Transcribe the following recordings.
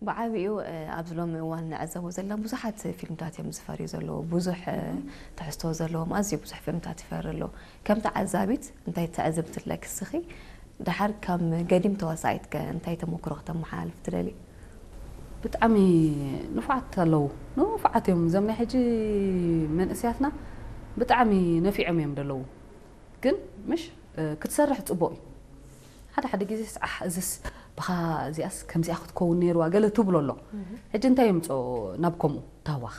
ብዓቢኡ ኣብዚ ሎሚ እዋን ንዕዘቦ ዘለና ብዙሓት ፊልምታት እዮም ዝፈርዩ ዘለዉ። ብዙሕ ትሕዝቶ ዘለዎም ኣዝዩ ብዙሕ ፊልምታት ይፈሪ ኣሎ። ከም ተዓዛቢት እንታይ ትዕዝብቲ ኣለኪ እስኺ? ደሓር ከም ገዲም ተዋሳኢት ከ እንታይ ተመክሮ ክተመሓላልፍ ትደሊ? ብጣዕሚ ንፉዓት ኣለዉ። ንፉዓት እዮም። እዞም ናይ ሕጂ መንእስያትና ብጣዕሚ ነፊዖም እዮም ዘለዉ። ግን ምሽ ክትሰርሕ ጽቡቕ እዩ። ሓደ ሓደ ግዜ ኣሕ እዝስ ብኻ እዚኣስ ከምዚኣ ክትከውን ነይርዋ ገለ ትብሎ ኣሎ። ሕጂ እንታይ የምፅኦ ናብ ከምኡ ታዋኽ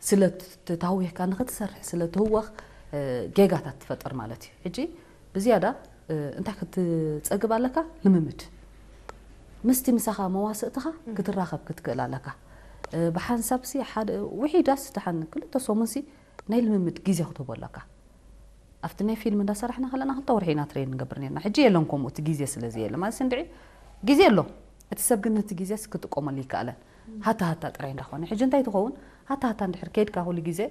ስለ ተታዊኽካ ንኽትሰርሕ ስለ ትህወኽ ጌጋታት ትፈጥር ማለት እዩ። ሕጂ ብዝያዳ እንታይ ክትፀግብ ኣለካ? ልምምድ ምስቲ ምሳኻ መዋስእትኻ ክትራኸብ ክትክእል ኣለካ። ብሓንሳብ ሲ ሓደ ውሒዳስ ደሓን ክልተ ሰሙን ሲ ናይ ልምምድ ግዜ ክትህቦ ኣለካ። ኣብቲ ናይ ፊልም እንዳሰራሕና ከለና ክልተ ወርሒ ኢና ትሬን ንገብር ነርና። ሕጂ የለን ከምኡ እቲ ግዜ ስለ ዘየለ ማለት እንድዒ ግዜ ኣሎ። እቲ ሰብ ግን ነቲ ግዜስ ክጥቀመሉ ይከኣለን። ሃታ ሃታ ጥራይ እንዳኾነ ሕጂ እንታይ ትኸውን ሃታ ሃታ እንድሕር ከይድካ ኩሉ ግዜ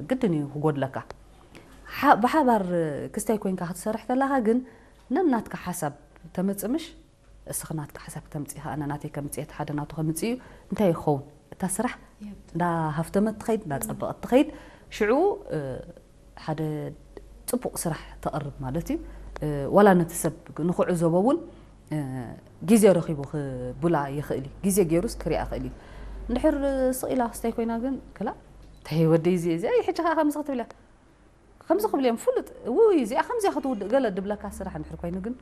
ግድን እዩ ክጎድለካ። ብሓባር ክስታይ ኮይንካ ክትሰርሕ ከለኻ ግን ነናትካ ሓሳብ ተመፅምሽ እስኺ ናትካ ሓሳብ ክተምፅኢ ከኣ ኣነ ናተይ ከምፅእ እቲ ሓደ ናቱ ከምፅእ እዩ እንታይ ይኸውን እታ ስራሕ እንዳ ሃፍተመት ትኸይድ እንዳ ፀበቐት ትኸይድ ሽዑ ሓደ ፅቡቕ ስራሕ ተቕርብ ማለት እዩ። ዋላ ነቲ ሰብ ንክዕዘቦ እውን ግዜ ረኺቡ ክቡላ ይኽእል እዩ። ግዜ ገይሩስ ክሪኣ ይኽእል እዩ። እንድሕር ስቕ ኢላ ክስታይ ኮይና ግን ክላ እንታይ ወደይ እዚ እዚ ሕጂ ከዓ ከምዚ ክትብል እያ ከምዚ ክብል እዮም ፍሉጥ ውይ እዚኣ ከምዚያ ክትውድእ ገለ ድብለካ ስራሕ እንድሕር ኮይኑ ግን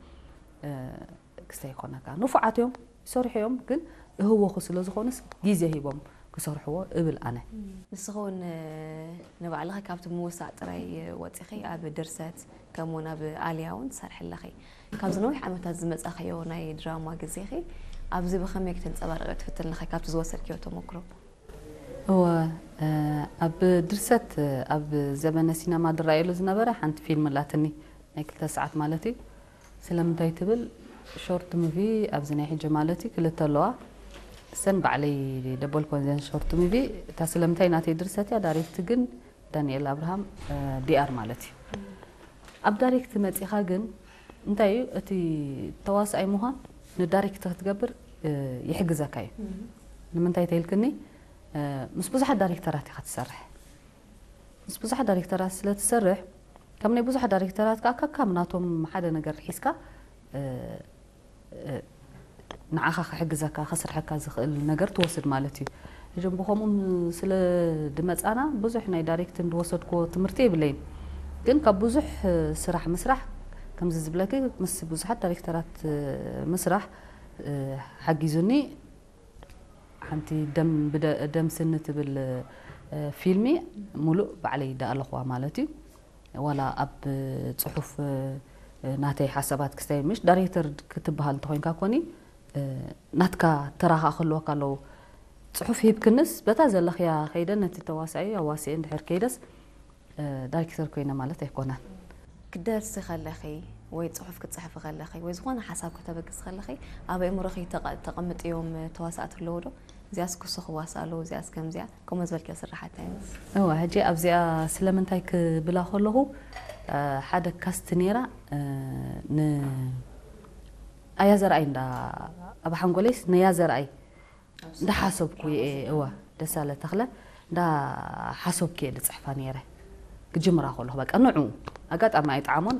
ክስተ ይኮነካ ንፉዓት እዮም ይሰርሑ እዮም ግን እህወኹ ስለ ዝኾኑስ ግዜ ሂቦም ክሰርሕዎ እብል ኣነ። ንስኺ እውን ንባዕልኺ ካብቲ ምውሳእ ጥራይ ወፂኺ ኣብ ድርሰት ከምኡውን ኣብ ኣልያ እውን ትሰርሒ ኣለኺ። ካብዚ ነዊሕ ዓመታት ዝመፃኽዮ ናይ ድራማ ግዜኺ ኣብዚ ብኸመይ ክተንፀባርቂ ትፍትኒ ኣለኺ ካብቲ ዝወሰድክዮ ተመክሮ? እወ ኣብ ድርሰት ኣብ ዘበነ ሲነማ ዝረኣየሉ ዝነበረ ሓንቲ ፊልም ኣላትኒ ናይ ክልተ ሰዓት ማለት እዩ ስለምንታይ ትብል ሾርት ሙቪ ኣብዚ ናይ ሕጂ ማለት እዩ ክልተ ኣለዋ እሰን ባዕለይ ደበልኮን ዘን ሾርት ሙቪ እታ ስለምንታይ ናተይ ድርሰት እያ ዳይሬክት ግን ዳንኤል ኣብርሃም ዲኣር ማለት እዩ ኣብ ዳይሬክት መፂኻ ግን እንታይ እዩ እቲ ተዋሳኣይ ምዃን ንዳይሬክት ክትገብር ይሕግዘካ እዩ ንምንታይ ተይልክኒ ምስ ብዙሓት ዳይሬክተራት ኢኻ ትሰርሕ ምስ ብዙሓት ዳይሬክተራት ስለ ትሰርሕ ከም ናይ ብዙሓት ዳይሬክተራት ከዓ ካካም ናቶም ሓደ ነገር ሒዝካ ንዓኻ ክሕግዘካ ከስርሐካ ዝኽእል ነገር ትወስድ ማለት እዩ እዞም ብኸምኡ ስለ ድመፃና ብዙሕ ናይ ዳይሬክትን ዝወሰድክዎ ትምህርቲ የብለይን ግን ካብ ብዙሕ ስራሕ ምስራሕ ከምዚ ዝብለኪ ምስ ብዙሓት ዳይሬክተራት ምስራሕ ሓጊዙኒ ሓንቲ ደም ስኒ ትብል ፊልሚ ሙሉእ ባዕለይ ዳኣለኽዋ ማለት እዩ ዋላ ኣብ ፅሑፍ ናተይ ሓሳባት ክስታይ ምሽ ዳይሬክተር ክትበሃል እንተኮይንካ ኮኒ ናትካ ተራኻ ክህልወካ ኣለዎ ፅሑፍ ሂብክንስ በታ ዘለኽያ ከይደ ነቲ ተዋሳኢ ኣዋሲኤ እንድሕር ከይደስ ዳይሬክተር ኮይነ ማለት ኣይኮነን። ክትደርሲ ከለኺ ወይ ፅሑፍ ክትፅሕፊ ከለኺ ወይ ዝኾነ ሓሳብ ከተበግሲ ከለኺ ኣብ ኣእምሮኺ ተቐምጥዮም ተዋሳእቲ ኣለዉ ዶ? እዚኣስ ክሱ ክዋሳ ኣለዉ እዚኣስ ከምዚኣ ከምኡ ዝበልክዮ ስራሓት እንታይ ይመስል? እወ ሕጂ ኣብዚኣ ስለምንታይ ክብላ ከለኹ ሓደ ካስት ነይራ ን ኣያ ዘርኣይ እንዳ ኣብ ሓንጎለይስ ነያ ዘርኣይ እንዳሓሰብኩ እየ እወ ደሳለ ተኽለ እንዳሓሰብኩ እየ ዝፅሕፋ ነይረ ክጅምራ ከለኹ በቃ ንዑ ኣጋጣሚ ኣይጠዓሞን